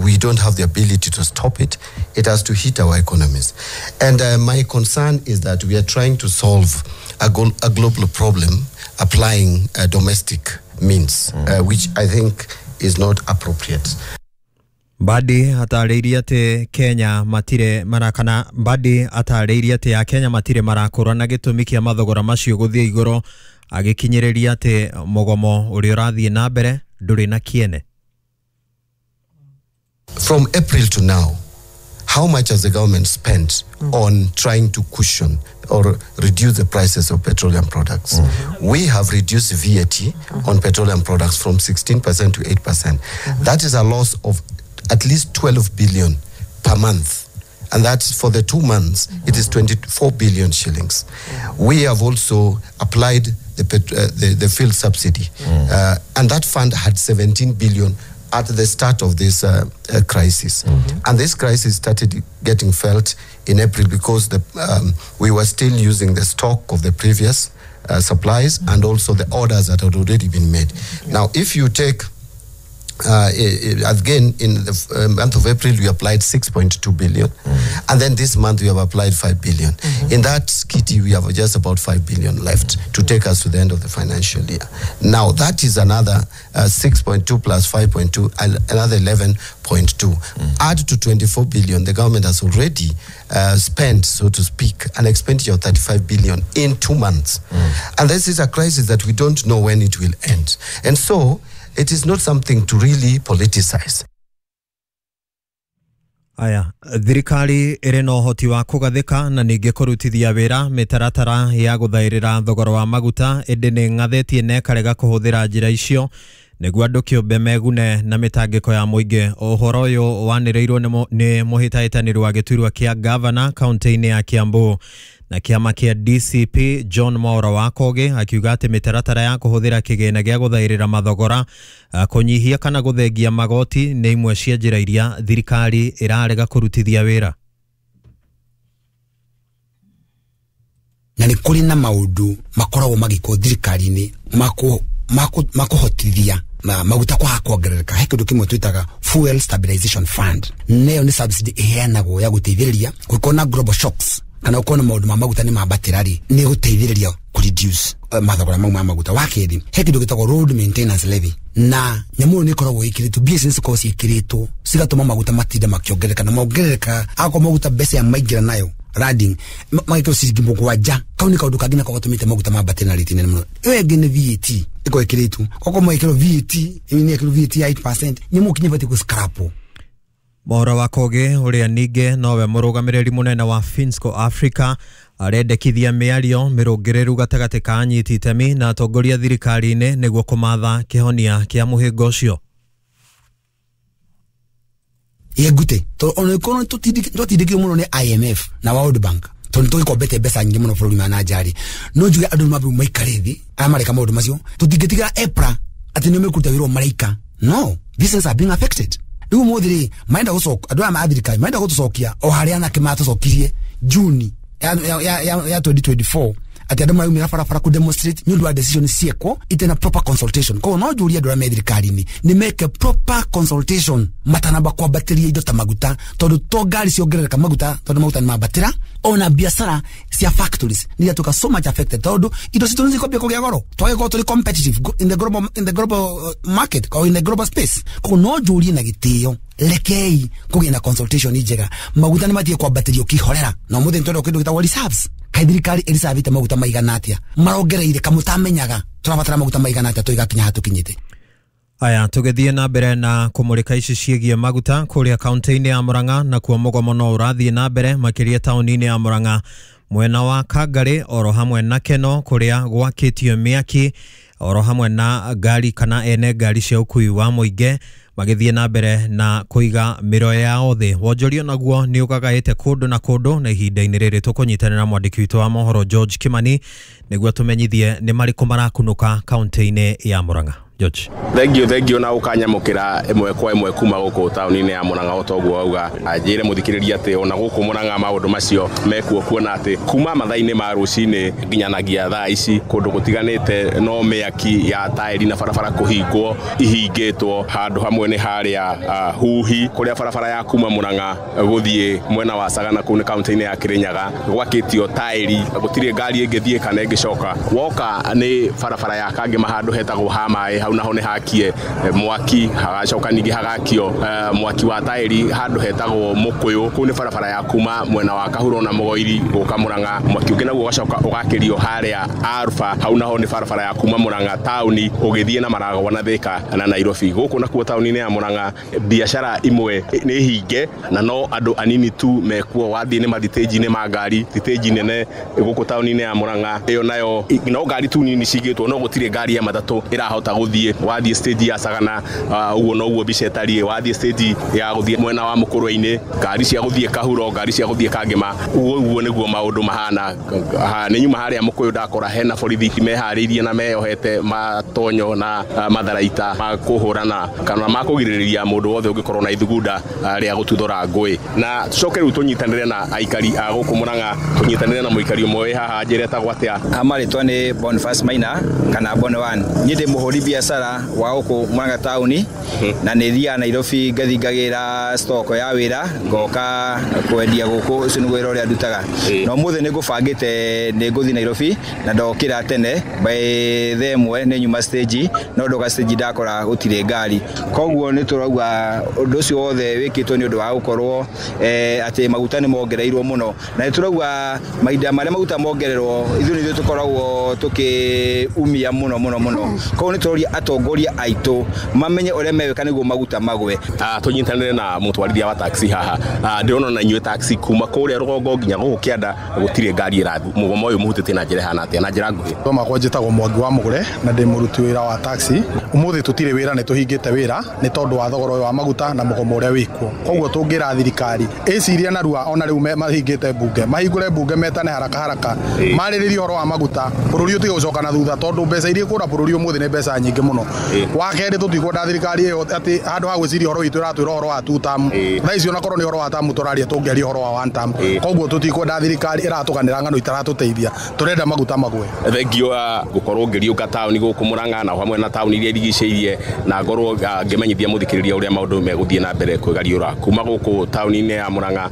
we don't have the ability to stop it, it has to hit our economies. And my concern is that we are trying to solve a global problem applying domestic means, which I think is not appropriate. Mbadi atarĩirie atĩ Kenya matirĩ marakana Mbadi atarĩirie atĩ ya Kenya matirĩ marakũra na gĩtũmi kĩa mathogora macio gũthiĩ igũrũ, agĩkinyĩrĩria atĩ mũgomo ũrĩa ũrathiĩ na mbere ndũrĩ na kĩene. From April to now, how much has the government spent on trying to cushion or reduce the prices of petroleum products? We have reduced VAT on petroleum products from 16% to 8%. That is a loss of at least 12 billion per month. And that's for the 2 months, it is 24 billion shillings. We have also applied the fuel subsidy. And that fund had 17 billion at the start of this crisis. And this crisis started getting felt in April because we were still using the stock of the previous supplies and also the orders that had already been made. Now, if you take again, in the month of April, we applied 6.2 billion. And then this month, we have applied 5 billion. In that kitty, we have just about 5 billion left to take us to the end of the financial year. Now, that is another 6.2 plus 5.2, another 11.2. Add to 24 billion, the government has already spent, so to speak, an expenditure of 35 billion in 2 months. And this is a crisis that we don't know when it will end. And so, it is not something to really politicize. Aya, thirikari ĩrĩ na ũhoti wa kũgathĩka na ningĩ kũrutithia wĩra mĩtaratara ya gũthaĩrĩra thogora wa maguta, ĩndĩ nĩ ng'athĩtie na ĩkarega kũhũthĩra njĩra icio nĩguo andũ kĩũmbe megune na mĩtangĩko ya mũingĩ. Ũhoro ũyũ wanĩrĩirwo nĩ mũhĩtahĩtanĩri wa gĩturwa kĩa gavana kaunti-inĩ ya Kiambu na kĩama kĩa DCP John Mwaura wa Kogi, akiuga atĩ mĩtaratara ya kũhũthĩra kĩgĩna gĩa gũthaĩrĩra mathogora, kũnyihia kana gũthengia magoti nĩ imwe cia njĩra iria thirikari ĩrarega kũrutithia wĩra. Na nĩ kũrĩ na maũndũ makoragwo magĩkwo thirikari-inĩ makuhotithia maguta kwaga kuongerereka. He kindu kimwe twitaga fuel stabilization fund, nayo ni subsidy iheanagwo ya guteithĩrĩria gũkorwo na global shocks kana ukorwo na maũndũ ma maguta nĩ mambatĩra rĩ, nĩ gũteithĩrĩria ku reduce mathogora mau ma maguta. Wa kerĩ, he kĩndũ gĩtagwo road maintenance levy, na nyamũ ĩyo nĩ ĩkoragwo ĩkĩrĩtwo mbia ici nĩ cikoragwo ciĩkĩrĩtwo cigatũma maguta matinde makĩongerereka na mongerereka akorwo maguta mbeca ya maingĩra nayo landing magĩkĩrwo ciringi 7. Kau nĩ kaũndũ kangĩ nako gatũmĩte maguta mambatĩre na rĩti nene mũno. Ĩyo ĩngĩ nĩ VAT ĩkoragwo ĩkĩrĩtwo, okorwo magĩkĩrwo VAT nĩ ĩkĩrwo VAT ya 8%, nyamũ kinya ĩbatiĩ gũscrapwo. Mohoro wa Kogi uria ningĩ nowe mũrũgamĩrĩri mũnene wa Finsco Africa arendekithia mĩario mĩrũngĩrĩru gatagatĩ ka anyiti itemi na atongoria thirikari-inĩ nĩguo kũmatha kĩhonia kĩa mũhĩnga ũcio. Yegute to ona kono tutindikio muno ni IMF na World Bank tondu tugikombete mbeca nyingi muno bũrũri wa nanjari no njuge andu mabu maikare thi aya mareka maundu macio tutingitigira EPRA ati nio mekuruta wira maraika. No, business are being affected. Riu muthi ri maenda gucoka andu aya ma thirikari maenda gutucokia o haria anake matucokirie Juni ya 2024 ati andu maraumira barabara ku demonstrate ni undu wa decision ciekwo itena proper consultation. Koguo no njurie andu aria me thirikari-ini ni make proper consultation matanamba kwambatĩria indo ta maguta, tondu to ngari ciongerereka maguta tondu maguta ni mambatĩra, ona biacara cia factories ni iratuĩka so much affected tondu indo citũ nĩ cikwambia kũgĩa goro twagĩkorwo tũrĩ competitive in the global market or in the global space. Koguo no njurie na gĩtĩo rekei kũgĩa na consultation njega, maguta nĩ matige kwambatĩrio kĩhorera na ũmũthĩ nĩ tũrenda kĩndũ gĩtagwo reserves. Kai thirikari ĩricavĩte maguta maigana atĩa marongereire kamũtamenyaga tũrabatara maguta maigana atĩa tũigakinya hatũkinyĩte. Aya tũgĩthiĩ na mbere na kũmũrĩka ici ciĩgiĩ maguta kũrĩa kaunti-inĩ ya Murang'a, nakuo mũgomo no ũrathiĩ na mbere makĩria taũni-inĩ ya Murang'a mwena wa Kangari oro hamwe na Keno kũrĩa gwakĩtio mĩaki oro hamwe na ngari kana ene ngari cia ũkui wa mũingĩ magĩthiĩ na mbere na kũiga mĩro yao thĩ. Wonjoria naguo nĩ ũgagaĩte kũndũ na kũndũ, na ihinda-inĩ rĩrĩ tũkũnyitanĩra mwandĩki witũ wa mohoro George Kimani nĩguo tũmenyithie nĩ marĩkũ marakunũka kaunti-inĩ ya Murang'a. George. Thank you na ukanyamukira ĩmwe kwa ĩmwe kuma gũkũ taũni-inĩ ya Murang'a o toguo wauga. Anjĩre mũthikĩrĩria atĩ ona gũkũ Murang'a maũndũ macio mekuo, kuona atĩ kuma mathaa-inĩ ma rũcinĩ nginyanagia thaa ici kũndũ gũtiganĩte no mĩaki ya taĩri na barabara kũhingwo ihingĩtwo. Handũ hamwe nĩ harĩa Huhi kũrĩa barabara ya kuma Murang'a gũthiĩ mwena wa Sagana kũu nĩ kaunti-inĩ ya Kirinyaga gwakĩtio taĩri, gũtirĩ ngari ĩngĩthiĩ kana ĩngĩcoka. Woka nĩ barabara ya Kangema handũ hetagwo ha maĩ, hau naho nĩ hakie mwaki, hagacoka ningĩ hagakio mwaki wa taĩri handũ hetagwo Mũkũyũ, kũu nĩ barabara ya kuma mwena wa Kahuro na Mũgoiri gũka Murang'a. Mwaki ũngĩ naguo ũgacoka ũgakĩrio harĩa Alpha, hau naho nĩ barabara ya kuma Murang'a taũni ũgĩthiĩ na Maragwa na Thika na Nairobi. Gũkũ nakuo taũni-inĩ ya Murang'a biacara imwe nĩ hinge na no andũ anini tu mekuo. Wathiĩ nĩ mathitĩnji-inĩ ma ngari, thitĩnji nene gũkũ taũni-inĩ ya Murang'a ĩyo nayo no ngari tu nini cigĩtwo, no gũtirĩ ngari ya matatũ ĩrahota gũthiĩ. Wathiĩ stage ya Sagana ũguo noguo mbica ĩtariĩ. Wathiĩ stage ya gũthiĩ mwena wa Mũkũrwe-inĩ, ngari cia gũthiĩ Kahuro, ngari cia gũthiĩ Kangema, ũguo nĩguo maũndũ mahana. Nĩ nyuma harĩa Mũkũyũ ndakora hena borithi meharĩirie na meyohete matonyo na matharaita ma kũhũrana kana ma kũgirĩrĩria mũndũ wothe ũngĩkorwo na ithugunda rĩa gũtuthũra ngũĩ. Na tũcoke rĩu tũnyitanĩre na aikari a gũkũ Murang'a, tũnyitanĩre na mũikari ũmwe wĩ haha, njĩre etagwo atĩa? Marĩtwa nĩ Boniface Maina kana Bon One. Niĩ ndĩ mũhũri biacara wa gũkũ Murang'a taũni na nĩ thiaga Nairobi ngathi ngagĩra stock ya wĩra ngoka kwendia gũkũ, ũcio nĩguo wĩra ũrĩa ndutaga. Na ũmũthĩ nĩ ngũbangĩte nĩ ngũthiĩ Nairobi na ndokĩra tene by thaa ĩmwe nĩ nyuma stage, no ndoka stage ndakora gũtirĩ ngari. Koguo nĩ tũrauga ũndũ ũcio wothe wĩkĩtwo nĩ ũndũ wa gũkorwo atĩ maguta nĩ mongereirwo mũno, na nĩ tũrauga mahinda marĩa maguta mongererwo ithuĩ nĩ ithuĩ tũkoragwo tũkĩumia mũno mũno mũno. Koguo nĩ tũroria atongoria aitũ mamenye ũrĩa megwĩka nĩguo maguta magwe. Tũnyitanĩre na mũtwarithia wa taxi haha, ndĩrona na inyuĩ taxi kuma kũrĩa rũgongo nginya gũkũ kĩanda gũtirĩ ngari ĩrathiĩ. Mũgomo ũyũ mũhutĩtie na njĩra ĩhana atĩa? Na njĩra nguhĩ. Makwa njĩtagwo Mwangi wa Mũgũre na ndĩ mũruti wĩra wa taxi. Ũmũthĩ tũtirĩ wĩra, nĩ tũhingĩte wĩra nĩ tondũ wa thogora ũyũ wa maguta na mũgomo ũrĩa wĩkuo. Koguo tũngĩra thirikari ĩcirie narua, ona rĩu mahingĩte mbunge, mahingũre mbunge metane haraka haraka marĩrĩrie ũhoro wa maguta, bũrũri ũtige gũcoka na thutha, tondũ mbeca iria ikũra bũrũri ũmũthĩ nĩ mbeca nyingĩ maingĩ mũno. Wa kerĩ tũtikwenda thirikari ĩyo atĩ handũ ha gwĩciria ũhoro witũ ĩratwĩra ũhoro wa two term. Thaa ici onakorwo nĩ ũhoro wa term tũraria tũngĩaria ũhoro wa one term. Koguo tũtikwenda thirikari ĩratũganĩra ng'ano itaratũteithia. Tũrenda maguta magwe. Thengio gũkorwo ngĩriũka taũni gũkũ Murang'a na hamwe na taũni iria irigicĩirie na ngorwo ngĩmenyithia mũthikĩrĩria ũrĩa maũndũ megũthiĩ na mbere kwĩgariũra kuma gũkũ taũni-inĩ ya Murang'a.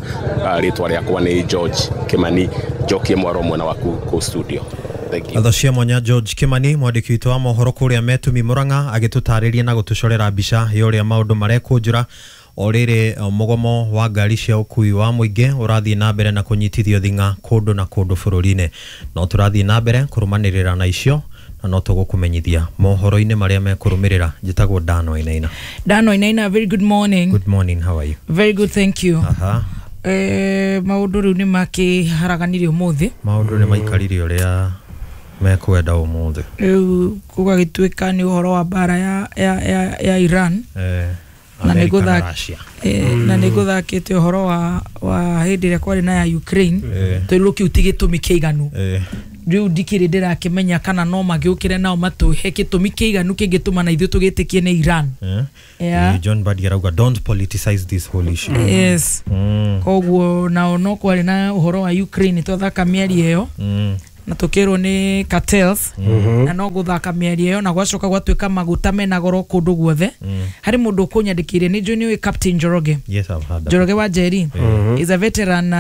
Rĩtwa rĩakwa nĩ George Kimani, njokie mwaro mwena waku kũ studio. Tha cia mwanya George Kimani, mwandĩki witũ wa mohoro kũrĩa Metumi Murang'a, agĩtũtarĩria na gũtũcorera mbica ya ũrĩa maũndũ marekũnjũra o rĩrĩ mũgomo wa ngari cia ũkui wa mũingĩ ũrathiĩ na mbere na kũnyitithio thing'a kũndũ na kũndũ bũrũri-inĩ. No tũrathiĩ na mbere kũrũmanĩrĩra na icio na no tũgũkũmenyithia mohoro-inĩ marĩa mekũrũmĩrĩra. Njĩtagwo Dan Wainaina. Dan Wainaina, very good morning. Good morning, how are you? Very good, thank you. Aha. Maũndũ rĩu nĩ makĩharaganirie ũmũthĩ. Maũndũ nĩ maikarire ũrĩa mekwenda ũmũthĩ. Rĩu gũgagĩtuĩka nĩ ũhoro wa mbara ya Iran. Na nĩ gũthakĩte ũhoro wa hĩndĩ ĩrĩa kwarĩ na ya Ukraine. Tondũ kĩu ti gĩtũmi kĩiganu. Rĩu ndikĩrĩ ndĩrakĩmenya kana no magĩũkĩre nao matũhe gĩtũmi kĩiganu kĩngĩtũma na ithuĩ tũgĩtĩkie nĩ Iran. Yeah. John Badi arauga don't politicize this whole issue. Yes. Koguo nao no kwarĩ na ũhoro wa Ukraine twathaka mĩario ĩyo. Na tũkĩrwo nĩ cartels. Na no gũthaka mĩario ĩyo na gwacoka gwatuĩka maguta mena goro kũndũ guothe. Harĩ mũndũ ũkũnyandĩkĩire nĩ njũĩ nĩũĩ Captain Njoroge. Yes, I've heard that. Njoroge wa Njeri is a veteran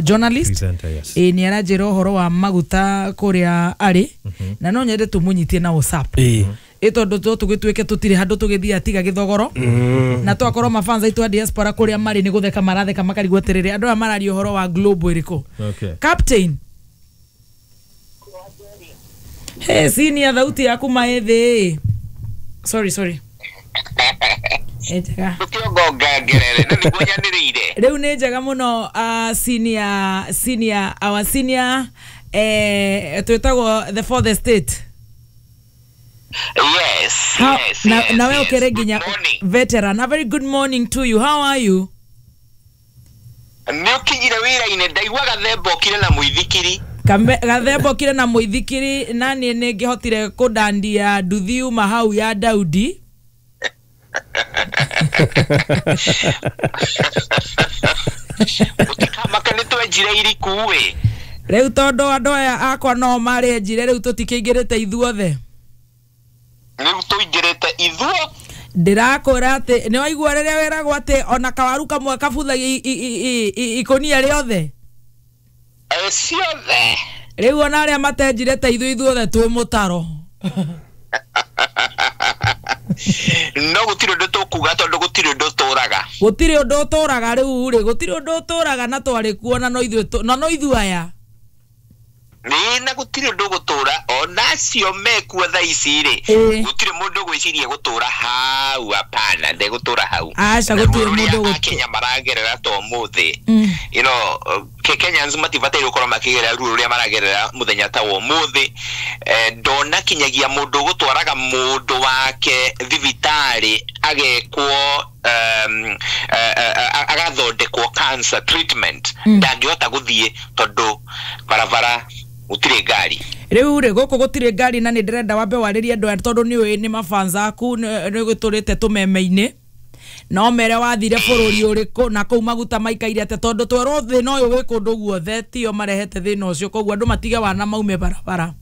journalist. Presenter, yes. Nĩ aranjĩra ũhoro wa maguta kũrĩa arĩ. Na no nyende tũmũnyitie na WhatsApp. Tondũ tũgĩtuĩke tũtirĩ handũ tũgĩthiĩ atiga gĩthogoro. Na twakorwo mafanza aitũ a diaspora kũrĩa marĩ nĩ gũtheka maratheka makarigwo atĩrĩrĩ andũ aya mararia ũhoro wa global ĩrĩkũ. Captain. Hey, senior thauti yaku maĩthĩ. Sorry. Njega. Rĩu nĩ njega mũno. Senior our senior twĩtagwo the fourth estate. Yes. Yes. Na wewe ukere nginya veteran. A very good morning to you. How are you? Nĩ ũkinyire wĩra-inĩ ndaigua gathemba okire na mũithikiri. Gathemba okire na mũithikiri na niĩ nĩ ngĩhotire kũndandia nduthi uma hau ya Daudi. Mũtikamake nĩ twenjire iriku ĩ. Rĩu tondũ andũ aya akwa no marenjire rĩu tũtikĩingĩrĩte ithuothe. Rĩu tũingĩrĩte ithuo. Ndĩrakwĩra atĩ nĩ waigua rĩrĩa wĩragwo atĩ ona kawaru kamwe kabuthagia ikũnia rĩothe. Ciothe. Rĩu ona arĩa matenjire ta ithuĩ ithuothe twĩ mũtaro. No gũtirĩ ũndũ tũkuga tondũ gũtirĩ ũndũ ũtũraga. Gũtirĩ ũndũ ũtũraga rĩu rĩ, gũtirĩ ũndũ ũtũraga na twarĩ kuo na no ithuĩ na no ithuĩ aya. Nĩ na gũtirĩ ũndũ gũtũra ona acio mekuo thaa ici rĩ, gũtirĩ mũndũ gwĩciria gũtũra hau, hapana, ndegũtũra hau. Aca gũtirĩ mũndũ gũtũra. Kenya maragerera to ũmũthĩ. You know, Kenyans matibataire gũkorwo makĩgerera ruo rũrĩa maragerera mũthenya ta wa ũmũthĩ. Ndona kinyagia mũndũ gũtwaraga mũndũ wake thibitarĩ agekwo agathondekwo cancer treatment ndangĩhota gũthiĩ tondũ barabara gũtirĩ ngari. Rĩu rĩ gũkũ gũtirĩ ngari na nĩ ndĩrenda wambe warĩrie andũ aya tondũ nĩ ũĩ nĩ mafans aku nĩ gũtũrĩte tũmeme-inĩ. No mere wathire bũrũri ũrĩkũ na kũu maguta maikaire atĩa tondũ twerwo thĩna ũyũ wĩ kũndũ guothe tio marehete thĩna ũcio koguo andũ matige wana maume barabara.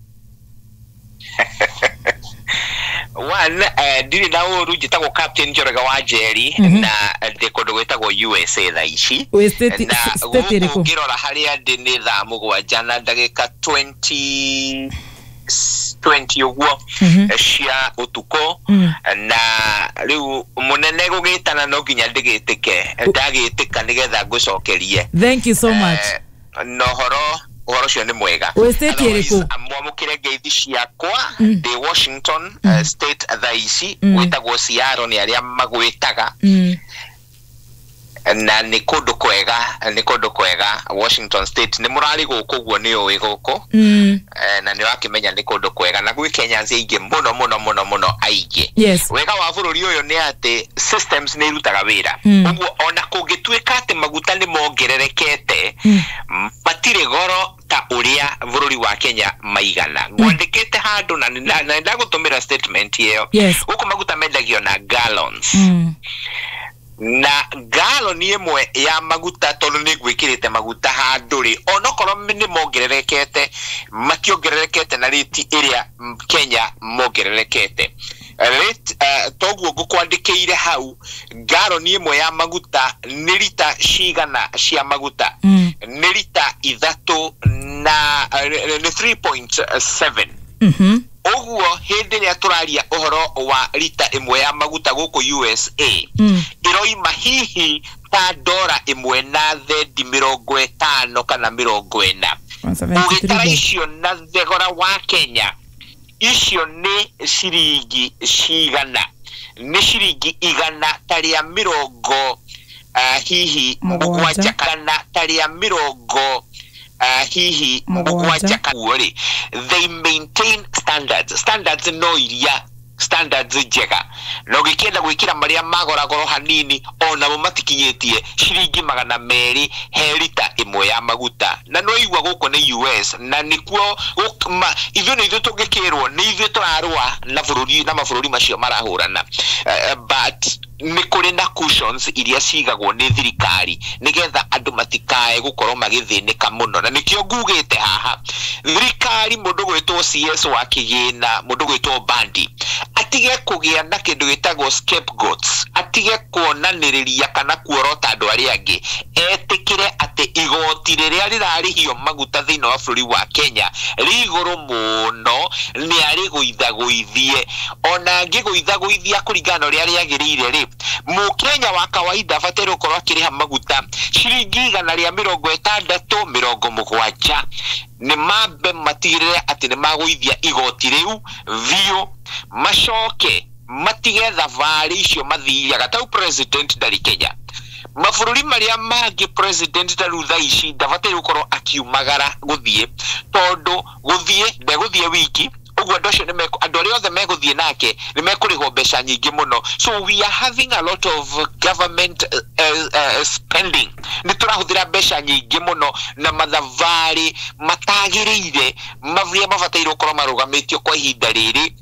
One, ndirĩ na ũru njĩtagwo Captain Njoroge wa Njeri na ndĩ kũndũ gwĩtagwo USA thaa ici. Na gũkũ ngĩrora harĩa ndĩ nĩ thaa 7 na ndagĩka 20 ũguo cia ũtukũ. Na rĩu mũnene gũgĩtana no nginya ndĩgĩtĩke, ndagĩtĩka nĩgetha ngũcokerie. Thank you so much. Na ũhoro ũcio nĩ mwega. Wĩ state ĩrĩkũ? Mwamũkĩre ngeithi ciakwa ndĩ Washington state thaa ici, gwĩtagwo Seattle nĩ arĩa magwĩtaga. Na nĩ kũndũ kwega, nĩ kũndũ kwega Washington State. Nĩ mũrarĩ gũkũ ũguo nĩ ũĩ gũkũ. Na nĩ wakĩmenya nĩ kũndũ kwega na gwĩ Kenyans aingĩ mũno mũno mũno mũno aingĩ. Wega wa bũrũri ũyũ nĩ atĩ systems nĩ irutaga wĩra. Ũguo ona kũngĩtuĩka atĩ maguta nĩ mongererekete, matirĩ goro ta ũrĩa bũrũri wa Kenya maigana. Ngwandĩkĩte handũ na na ndagũtũmĩra statement ĩyo. Gũkũ maguta mendagio na gallons. Na galoni ĩmwe ya maguta, tondũ nĩ ngwĩkĩrĩte maguta handũ rĩ, onokorwo nĩ mongererekete, mationgererekete na rĩti ĩrĩa Kenya mongererekete. Rate, toguo ngũkwandĩkĩire hau, galoni ĩmwe ya maguta nĩ rita cigana cia maguta? Nĩ rita 3 na nĩ 3.7. Ũguo hĩndĩ ĩrĩa tũraria ũhoro wa rita ĩmwe ya maguta gũkũ USA, ĩroima hihi ta dora 1 na thendi 50 kana 40. Ũgĩtara icio na thogora wa Kenya, icio nĩ ciringi cigana? Nĩ ciringi igana ta rĩa mĩrongo hihi mũgwanja kana ta rĩa mĩrongo hihi mũgwanja. Rĩ, they maintain standards. Standards no iria standards njega, na ũgĩkĩenda gwĩkĩra marĩa magoragoro hanini, onamo matikinyĩtie ciringi 200 he rita ĩmwe ya maguta. Na no igua gũkũ nĩ US, na nĩkuo ithuĩ nĩ ithuĩ tũngĩkĩrwo nĩ ithuĩ tũrarũa na bũrũri na mabũrũri macio marahũrana. But nĩ kũrĩ na cushions iria cigagwo nĩ thirikari nĩgetha andũ matikae gũkorwo magĩthĩnĩka mũno. Na nĩkĩo ngugĩte haha thirikari, mũndũ gwĩtwo CS wa kĩgĩna, mũndũ gwĩtwo Bandi, atige kũgĩa na kĩndũ gĩtagwo scapegoats, atige kuonanĩrĩria kana kuorota andũ arĩa angĩ, etĩkĩre atĩ igoti rĩrĩa rĩrarĩhio maguta thĩinĩ wa bũrũri wa Kenya rĩ igũrũ mũno, nĩ arĩgũithagũithie. Ona angĩgũithagũithia kũringana na ũrĩa rĩagĩrĩire rĩ, mũkenya wa kawaida abataire gũkorwo akĩrĩha maguta ciringi 160 70. Nĩ mambe matigĩrĩre atĩ nĩ magũithia igoti rĩu biũ, macoke matige thabarĩ icio mathiaga. Tau president ndarĩ Kenya, mabũrũri marĩa mangĩ president tarĩu thaa ici ndabataire gũkorwo akiumagara gũthiĩ, tondũ gũthiĩ ndegũthiĩ wiki ũguo andũ acio andũ arĩa othe megũthiĩ nake nĩ mekũrĩhwo mbeca nyingĩ mũno. So we are having a lot of government spending. Nĩ tũrahũthĩra mbeca nyingĩ mũno na mathabarĩ matagĩrĩire marĩa mabataire gũkorwo marũgamĩtio kwa ihinda rĩrĩ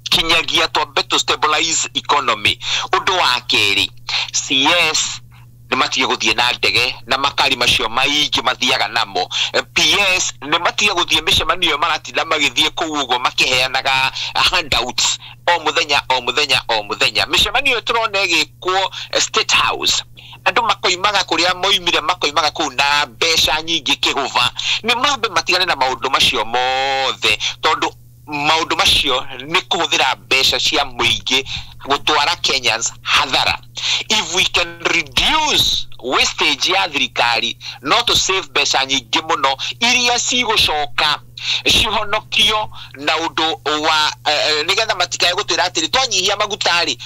kinyagia twambe to stabilize economy. Ũndũ wa kerĩ, CS nĩ matige gũthiĩ na ndege na makari macio maingĩ mathiaga namo. PS nĩ matige gũthiĩ mĩcemanio maratinda magĩthiĩ kũu ũguo makĩheanaga handouts o mũthenya o mũthenya o mũthenya. Mĩcemanio tũrona ĩgĩkwo State House, andũ makoimaga kũrĩa moimire, makoimaga kũu na mbeca nyingĩ kĩhũba. Nĩ mambe matigane na maũndũ macio mothe, tondũ maũndũ macio nĩ kũhũthĩra mbeca cia mũingĩ gũtwara Kenyans hathara. If we can reduce wastage ya thirikari, no to save mbeca nyingĩ mũno iria cigũcoka cihonokio na ũndũ wa nĩgetha matikae gũtwĩra atĩrĩ twanyihia maguta rĩ,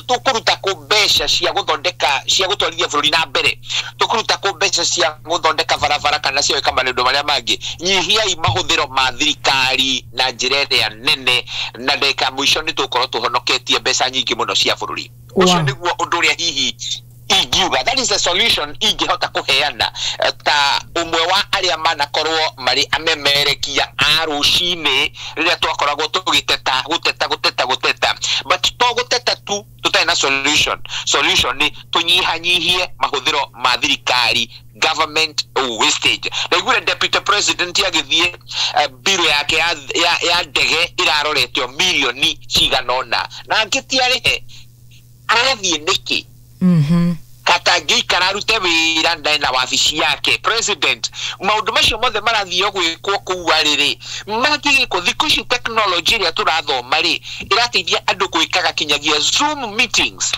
tũkũruta kũ mbeca cia gũthondeka cia gũtwarithia bũrũri na mbere, tũkũruta kũ mbeca cia gũthondeka barabara kana cia gwĩka maũndũ marĩa mangĩ. Nyihiai mahũthĩro ma thirikari na njĩra ĩrĩa nene, na ndagĩka ya mũico nĩ tũgũkorwo tũhonoketie mbeca nyingĩ mũno cia bũrũri. Ũcio nĩguo ũndũ ũrĩa hihi ingiuga that is the solution ingĩhota kũheana ta ũmwe wa arĩa manakorwo marĩ amemerekia a rũcinĩ rĩrĩa twakoragwo tũgĩteta gũteta gũteta gũteta, but to gũteta tu tũtarĩ na solution. Solution nĩ tũnyihanyihie mahũthĩro ma thirikari, government wastage. Ndaiguire deputy president agĩthiĩ biro yake ya ndege ĩraroretio mirioni cigana ũna na angĩtiarĩhe arathiĩ nĩkĩ? Katangĩikara arute wĩra na wabici yake president. Maũndũ macio mothe marathiĩ gwĩkwo kũu arĩrĩ mangĩgĩkwo. Thikũ ici technology ĩrĩa tũrathoma rĩ ĩrateithia andũ gwĩkaga kinyagia Zoom meetings.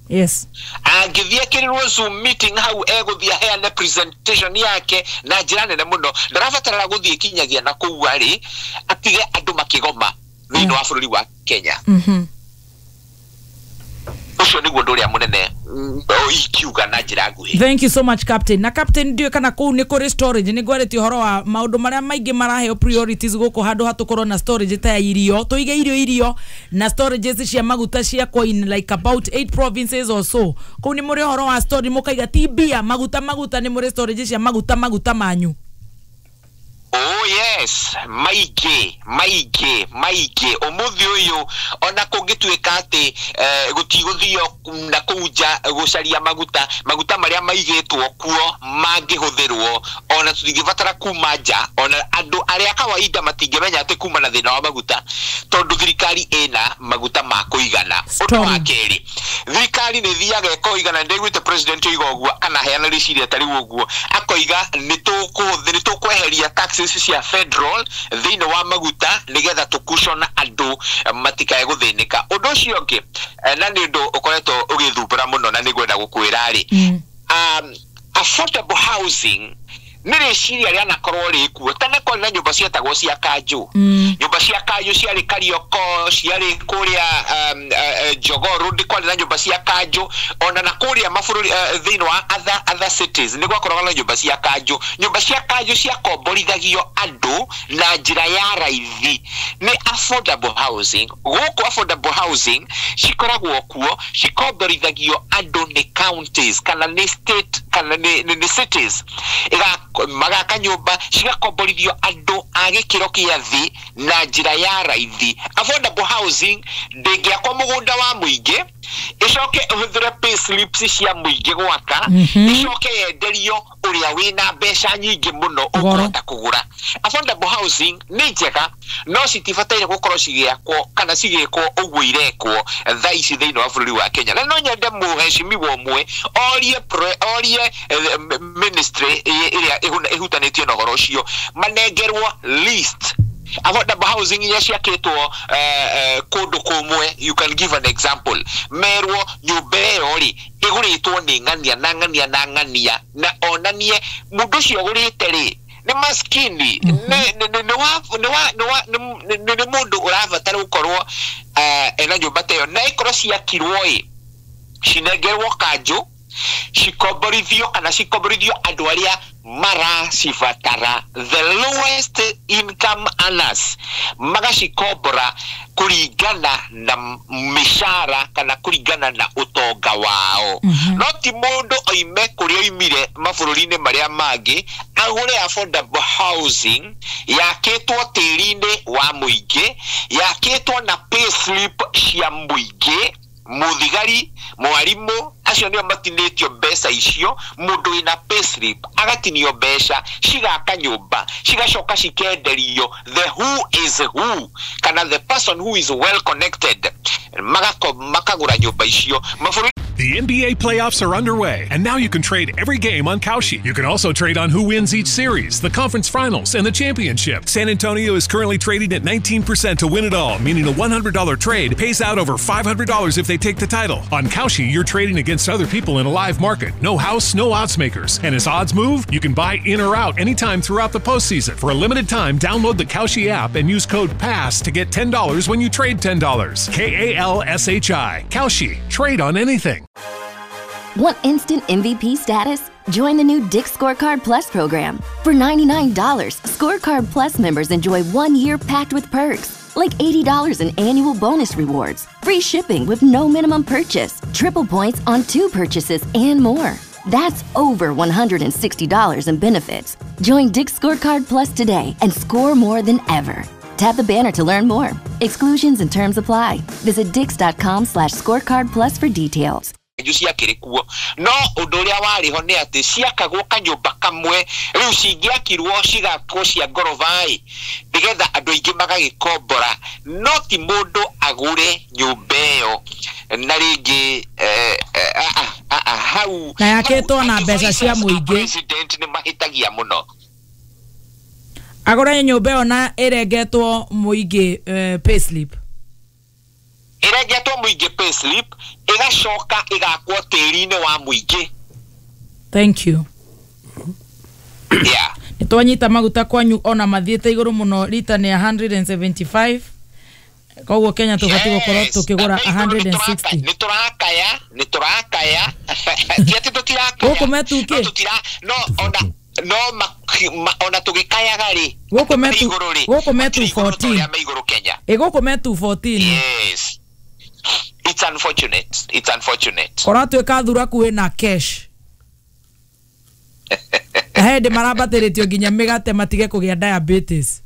Yes. Angĩthiĩ ekĩrĩrwo Zoom meeting hau egũthiĩ aheane presentation yake na njĩra nene mũno, ndarabatara gũthiĩ kinyagia na kũu arĩ atige andũ makĩgoma thĩinĩ wa bũrũri wa Kenya. Ũcio nĩguo ũndũ ũrĩa mũnene Ingiuga na njĩra nguhĩ. Thank you so much, Captain. Na Captain, ndiũĩ kana kũu nĩ kũrĩ storage. Nĩ ngwarĩtie ũhoro wa maũndũ marĩa maingĩ maraheo priorities gũkũ, handũ ha tũkorwo na storage ta ya irio, tũige irio na storages cia maguta ciakwo in like about 8 provinces or so. Kũu nĩ mũrĩ ũhoro wa storage, mũkaiga ti mbia, maguta maguta, nĩ mũrĩ storage cia maguta maguta manyu? Oh yes, maingĩ maingĩ maingĩ. Ũmũthĩ ũyũ ona kũngĩtuĩka atĩ gũtigũthio na kũu nja gũcaria maguta, maguta marĩa maigĩtwo kuo mangĩhũthĩrwo, ona tũtingĩbatara kuma nja. Ona andũ arĩa kawaida matingĩmenya atĩ kuma na thĩna wa maguta, tondũ thirikari ĩna maguta ma kũigana. Ũndũ wa kerĩ, thirikari nĩ ĩthiaga ĩkoiga, na ndĩguĩte president oiga ũguo kana heana rĩciria ta rĩu ũguo, akoiga nĩ tũkweheria taxes cia federal thĩinĩ wa maguta nĩgetha tũkucona andũ matikae gũthĩnĩka. Ũndũ ũcio ũngĩ, na nĩ ũndũ ũkoretwo ũgĩthumbũra mũno na nĩngwenda gũkwĩra rĩ, affordable housing nĩ rĩciria rĩanakorwo rĩkuo. Tene kwarĩ na nyũmba cietagwo cia kanjũ. Nyũmba cia kanjũ ciarĩ Karioko, ciarĩ kũrĩa Jogoo Road, kwarĩ na nyũmba cia kanjũ. Ona na kũrĩa mabũrũri thĩinĩ wa other cities nĩ gwakoragwo na nyũmba cia kanjũ. Nyũmba cia kanjũ ciakomborithagio andũ na njĩra ya raithi, nĩ affordable housing. Gũkũ affordable housing cikoragwo kuo, cikomborithagio andũ nĩ counties kana nĩ state kana nĩ cities, magaka nyũmba cigakomborithio andũ a gĩkĩro kĩa thĩ na njĩra ya raithi. Affordable housing ndĩngĩakwo mũgũnda wa mũingĩ ĩcoke ĩhũthĩre pay slips cia mũingĩ gwaka, ĩcoke yenderio ũrĩa wĩna mbeca nyingĩ mũno ũkũhota kũgũra. Affordable housing nĩ njega, no citibataire gũkorwo cigĩakwo kana cigĩkwo ũguo irekwo thaa ici thĩinĩ wa bũrũri wa Kenya. Na no nyende mũhecimiwa ũmwe orie ministry ĩrĩa ĩhutanĩtio na ũhoro ũcio manengerwo list affordable housing iria ciakĩtwo kũndũ kũmwe. You can give an example, merwo nyũmba ĩyo rĩ ĩgũrĩtwo nĩ ng'ania na ng'ania na ng'ania, na onanie mũndũ ũcio ũgũrĩte rĩ nĩ maskini, nĩ mũndũ ũrabatara gũkorwo ena nyũmba ta ĩyo, na ĩkorwo ciakirwo ĩ cinengerwo kanjũ, cikomborithio kana cikomborithio andũ arĩa maracibatara, the lowest income earners, magacikombora kũringana na mĩcara kana kũringana na ũtonga wao. No ti mũndũ oime kũrĩa oimire mabũrũri-inĩ marĩa mangĩ agũre affordable housing yakĩtwo tĩri-inĩ wa mũingĩ, yakĩtwo na pay slip cia mũingĩ, mũthigari, mwarimu, acio nĩo matinĩtio mbeca icio. Mũndũ wĩna payslip agatinio mbeca cigaka nyũmba, cigacoka cikenderio the who is who kana the person who is well connected, makagũra nyũmba icio. The NBA playoffs are underway, and now you can trade every game on Kalshi. You can also trade on who wins each series, the conference finals, and the championship. San Antonio is currently trading at 19% to win it all, meaning a $100 trade pays out over $500 if they take the title. On Kalshi, you're trading against other people in a live market. No house, no odds makers. And as odds move, you can buy in or out anytime throughout the postseason. For a limited time, download the Kalshi app and use code PASS to get $10 when you trade $10. K-A-L-S-H-I. Kalshi. Trade on anything. Want instant MVP status? Join the new Dick's Scorecard Plus program. For $99, Scorecard Plus members enjoy 1 year packed with perks, like $80 in annual bonus rewards, free shipping with no minimum purchase, triple points on 2 purchases, and more. That's over $160 in benefits. Join Dick's Scorecard Plus today and score more than ever. Tap the banner to learn more. Exclusions and terms apply. Visit dicks.com/scorecard plus for details. Ciakĩrĩ kuo, no ũndũ ũrĩa warĩ ho nĩ atĩ ciakagwo kanyũmba kamwe, rĩu cingĩakirwo cigakwo cia ngoroba-ĩ, nĩgetha andũ aingĩ magagĩkombora, no ti mũndũ agũre nyũmba ĩyo na rĩngĩ hau na yakĩtwo na mbeca cia mũingĩ. President nĩ mahĩtagia mũno. Agũre nyũmba ĩyo na ĩrengetwo mũingĩ payslip, ĩrengetwo mũingĩ payslip, ĩgacoka ĩgakwo tĩri-inĩ wa mũingĩ. Thank you. Yeah. Nĩtwanyita maguta kwanyu ona mathiĩte igũrũ mũno, rita nĩ 175, koguo Kenya tũbatiĩ gũkorwo tũkĩgũra 160. Nĩtũrakaya Ti atĩ tũtirakaya. Gũkũ metuke. No tũtira no ona no ona tũgĩkayaga rĩ. Gũkũ metu igũrũ rĩ. Gũkũ metu Matirĩ igũrũ ta 14. ũrĩa me igũrũ Kenya. Ĩ gũkũ me 214. Yes. It's unfortunate. It's unfortunate. Kũratuĩka thuraku ĩna cash. Na he hĩndĩ marambatĩrĩtio nginya mĩgate matige kũgĩa diabetes.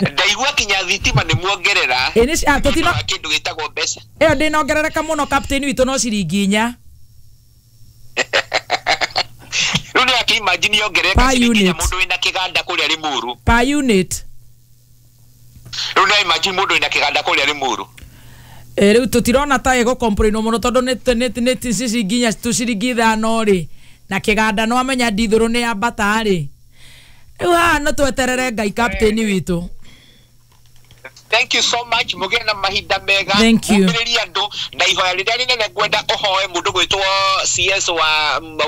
Ndaigua kinya thitima nĩ muongerera. Ĩ nĩ ah, tũtina Wa kĩndũ gĩtagwo mbeca. ĩyo ndĩnongerereka mũno captain witũ no ciringi 4. Rĩu nĩ akĩimagine yongerereka Per ciringi 4 unit. Mũndũ wĩna kĩganda kũrĩa Limuru. Per unit. Rĩu nĩ imagine mũndũ wĩna kĩganda kũrĩa Limuru. Ĩ rĩu tũtirona ta ĩgũkomplainwo mũno tondũ nĩ ciringi 4 tu ciringi 5 rĩ na kĩganda no amenya ndithũrũ nĩ yambata rĩ. Rĩu haha no tweterere Ngai captain witũ. Thank you so much. Mũgĩe na mahinda mega. Thank you. Mũmbĩrĩrie andũ na ihoya rĩrĩa rĩnene ngwenda ũhoe mũndũ gwĩtwo CS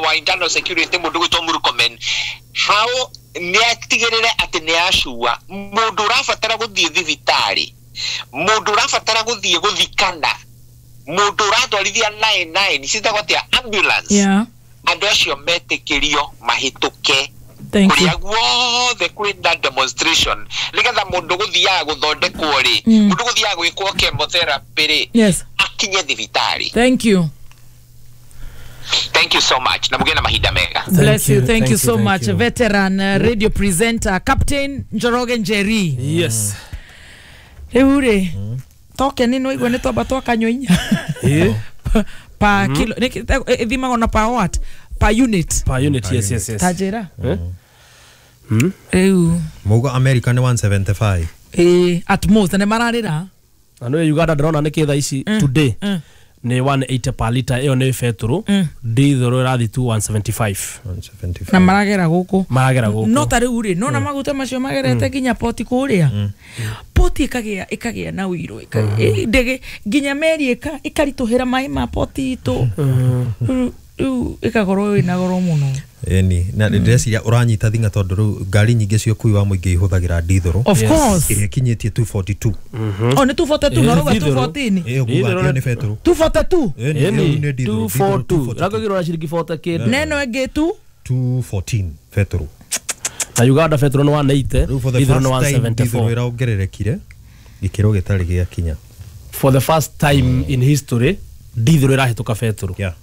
wa internal security mũndũ gwĩtwo Murkomen. How nĩ atigĩrĩre atĩ nĩ acua mũndũ ũrabatara gũthiĩ thibitarĩ, mũndũ ũrabatara gũthiĩ gũthikana, mũndũ ũratwarithia 99 citagwo atĩa ambulance. Yeah. Andũ acio metĩkĩrio mahĩtũke Thank you. kũrĩa guothe kwĩna demonstration nĩgetha mũndũ gũthiaga gũthondekwo rĩ, mũndũ gũthiaga gwĩkwo chemotherapy rĩ, Yes. akinye thibitarĩ. Thank you. Thank you so much na mũgĩe na mahinda mega. Bless you. Thank you so thank much. you. Veteran radio presenter Captain Njoroge Njeri. Yes. Rĩu rĩ token nĩ waigua nĩ twamba twakanyua 4. Ĩ. Pa kilo ĩthimagwo na pa what? Per unit. Per unit, yes, yes, yes. Ta njĩra. Eh? Rĩu Mauga America nĩ 175. ĩ at most nĩ mararĩra. Na nĩ Uganda ndĩrona nĩ kĩ thaa ici today nĩ 180 per liter ĩyo nĩ betũrũ ndithũrũ ĩrathiĩ tu 175. 175. Na maragera gũkũ. Maragera gũkũ. No ta rĩu rĩ nona maguta macio magerete nginya poti kũrĩa. Poti ĩkagĩa na ũirũ ndege nginya meri ĩkaritũhĩra maĩ ma poti itũ. Rĩu ĩkakorwo ĩna goro mũno. Ĩni na ndĩreciria ũranyita thinga tondũ rĩu ngari nyingĩ cia ũkui wa mũingĩ ihũthagĩra ndithũrũ. Of course. Ĩrĩa ĩkinyĩtie 242. O nĩ 242 no rauga 214. Ĩyo nguga ĩyo nĩ betũrũ. 242. Ĩni ĩyo nĩ ndithũrũ. 242. Rakagĩrwo na ciringi 40 kĩndũ. Neno ĩngĩ tu 214 betũrũ. Na Uganda betũrũ nĩ 180, Rĩu for the ndithũrũ nĩ first time ndithũrũ 174. ĩrongererekire gĩkĩro gĩtarĩ gĩakinya. For the first time in history ndithũrũ ĩrahĩtũka betũrũ. Yeah.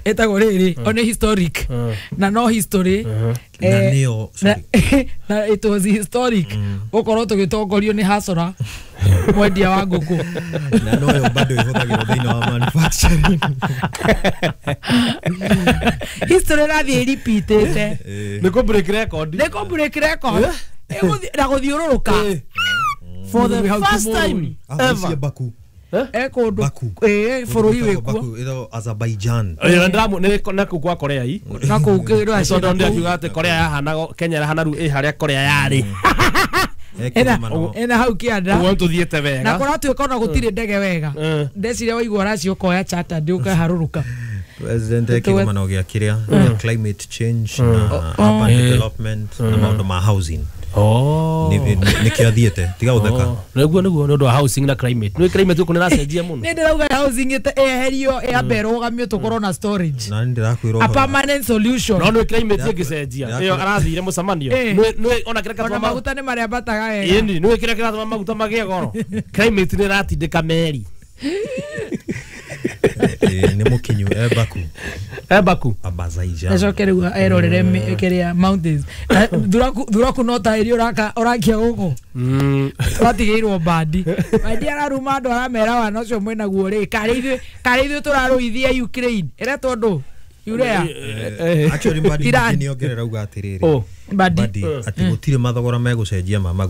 ĩtagwo rĩrĩ o nĩ historic na no history Na nĩyo na it was historic gũkorwo tũgĩtongorio nĩ hasora mwendia wa ngũkũ. Na noyo bado ĩhũthagĩrwo thĩinĩ wa manufacturing. History ĩrathiĩ ĩripitĩte. Nĩ kũ break record. Nĩ kũ break record na gũthiũrũrũka For the first time ever. Baku. Kũndũ bũrũri wĩkuo. Ĩtagwo Azerbaijan. Ĩyo ndĩramu nĩ na kũu kwa Korea i. Na kũu kĩrĩa Tondũ nĩ akiuga atĩ Korea yahana Kenya ĩrahana rĩu ĩ harĩa Korea yarĩ. Ena hau kĩanda. Ũguo tũthiĩte wega. Na kũratuĩka ona gũtirĩ ndege wega. Ndeciria waigua ũracio ũkoya charter ũkaharũrũka. President kĩgomano gĩa kĩrĩa gĩa climate change na urban development na maũndũ ma housing. Nĩkĩo athiĩte tiga gũtheka. Nĩguo nĩguo nĩ ũndũ wa housing na climate. Nĩ climate gũkũ nĩ ĩracenjia mũno. Nĩ ndĩrauga housing ĩeherio ĩambe ĩrũgamio tũkorwo na storage. Na nĩ ndĩrakwĩra A permanent solution. No nĩ climate ĩngĩcenjia. Ĩyo arathire mũcemanio. Nĩ ona kĩrĩa Ona kĩratũma maguta nĩ marĩambataga wega. Ĩni nĩ kĩrĩa kĩratũma maguta magĩe goro. Climate nĩ ĩratindĩka meri. Nĩ mũkinyu e Baku. E Baku. Azerbaijan. Acoke rĩu erorere kĩrĩa mountains. Thuraku no ta iria ũrakia gũkũ. Tũratigĩirwo bandi. Bandi araruma andũ aramera wana ũcio mwĩnaguo rĩ karĩ ithuĩ tũrarũithia Ukraine. Ĩretwo ndũ? Urea. Actually Mbadi Iran. nĩ ongerera uga atĩrĩrĩ. Mbadi. Atĩ gũtirĩ mathogora megũcenjia ma maguta.